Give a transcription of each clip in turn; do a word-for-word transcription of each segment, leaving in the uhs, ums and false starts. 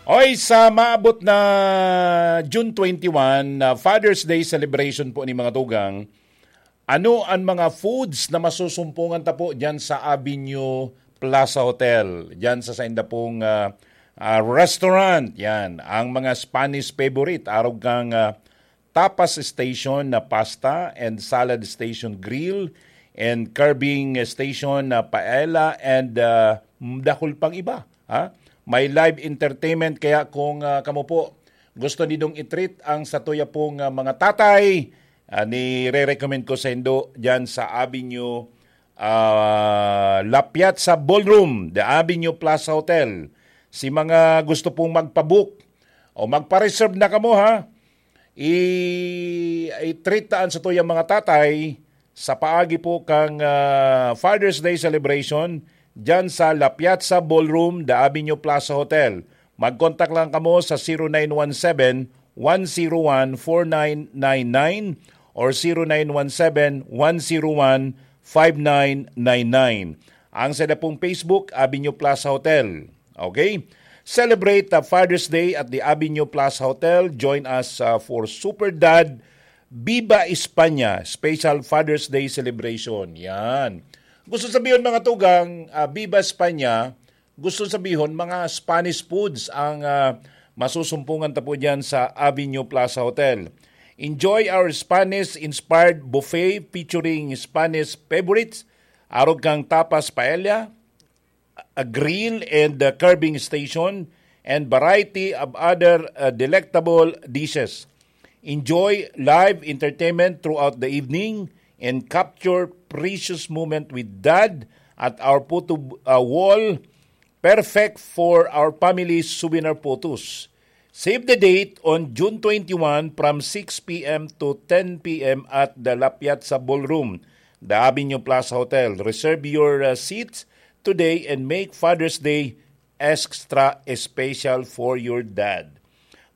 Oy, sa maabot na June twenty-one, na Father's Day celebration po ni mga tugang, ano ang mga foods na masusumpungan ta po dyan sa Avenue Plaza Hotel? Dyan sa sainda pong, ah, ah, restaurant, yan. Ang mga Spanish favorite, arog kang, ah, tapas station na pasta and salad station grill and carving station na paella and, ah, dakul pang iba, ha? May live entertainment, kaya kung, ah, kamo po gusto nidong i-treat ang satuya pong, ah, mga tatay, ah, nire-recommend ko sa indo dyan sa Avenue, ah, La Piazza Ballroom, The Avenue Plaza Hotel. Si mga gusto pong magpabook o magpa-reserve na kamo, ha? I-, i-treat taan sa tuyang mga tatay sa paagi po kang, ah, Father's Day celebration dyan sa La Piazza Ballroom, The Avenue Plaza Hotel. Mag-contact lang kamo sa zero nine one seven, one zero one, four nine nine nine or zero nine one seven, one zero one, five nine nine nine. Ang sa pong Facebook, Avenue Plaza Hotel. Okay? Celebrate the Father's Day at the Avenue Plaza Hotel. Join us, uh, for Super Dad Viva España Special Father's Day Celebration. Yan. Gusto sabihin, mga tugang, uh, Viva España, gusto sabihin, mga Spanish foods ang, uh, masusumpungan ta po dyan sa Avenue Plaza Hotel. Enjoy our Spanish-inspired buffet featuring Spanish favorites, arog kang tapas paella, a grill and a carving station, and variety of other, uh, delectable dishes. Enjoy live entertainment throughout the evening and capture precious moment with Dad at our photo, uh, wall, perfect for our family souvenir photos. Save the date on June twenty-one from six p m to ten p m at the La Piazza Ballroom, the Avenue Plaza Hotel. Reserve your, uh, seats today and make Father's Day extra special for your dad.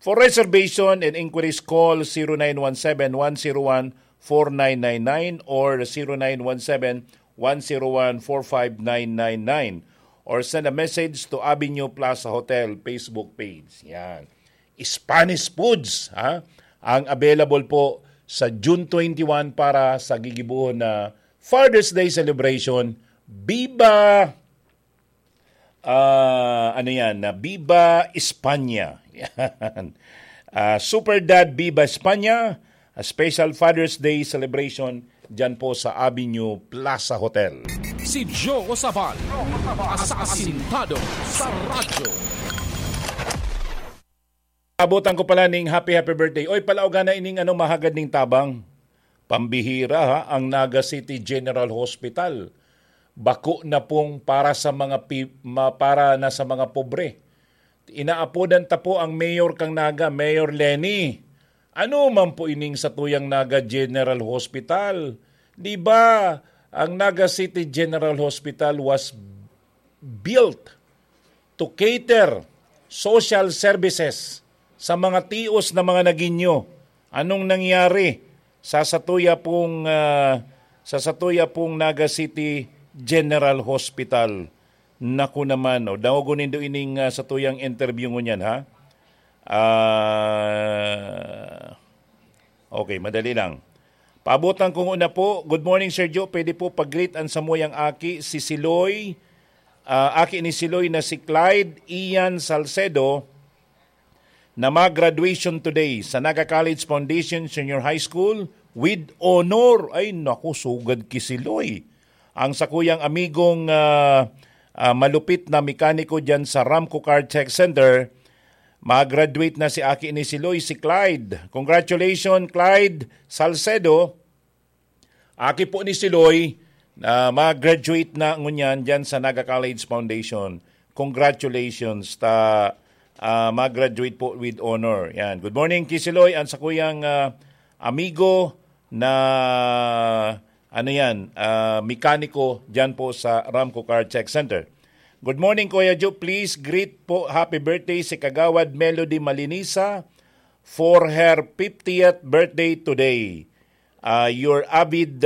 For reservation and inquiries, call zero nine one seven, one zero one, four nine nine nine or zero nine one seven, one zero one, four five nine nine nine or send a message to Avenue Plaza Hotel Facebook page. Yan. Spanish foods, ha? Ang available po sa June twenty-one para sa gigibohon na Father's Day celebration. Viva, ah, ano yan, na Viva España. Yan. Ah, Super Dad Viva España, a special Father's Day celebration dyan po sa Avenue Plaza Hotel. Si Joe Sabal, asasintado sa radyo. Abutan ko pala ning happy, happy birthday. Oy, palauga na ining ano, mahagad ning tabang. Pambihira, ha, ang Naga City General Hospital. Bako na pong para sa mga pi-, ma-, para na sa mga pobre. Inaapodan ta po ang mayor kang Naga, Mayor Leni. Ano man po ining satuyang Naga General Hospital? Di ba, ang Naga City General Hospital was built to cater social services sa mga tios na mga Naguinho. Anong nangyari sa satuya pong, ah, sa satuya pong Naga City General Hospital? Naku naman, o, dangogon nindo ining, ah, satuyang interview ngunyan, ha? Ah, okay, madali lang. Paabutan ko nguna po. Good morning, Sir Joe. Pwede po pag-greet ang samuyang aki, si Siloy, ah, aki ni Siloy na si Clyde Ian Salcedo, na mag-graduation today sa Naga College Foundation Senior High School with honor. Ay, naku, sugad ki Siloy. Ang sakuyang amigong, ah, ah, malupit na mekaniko dyan sa Ramco Car Tech Center, mag-graduate na si aki ni Siloy, si Clyde. Congratulations, Clyde Salcedo. Aki po ni Siloy, ah, mag-graduate na ngunyan dyan sa Naga College Foundation. Congratulations. Ta, ah, mag-graduate po with honor. Yan. Good morning, ki Siloy. Ang sakuyang, ah, amigo na, ano yan, ah, mekaniko dyan po sa Ramco Car Tech Center. Good morning, Kuya Joe. Please greet po happy birthday si Kagawad Melody Malinisa for her fiftieth birthday today. Ah, your avid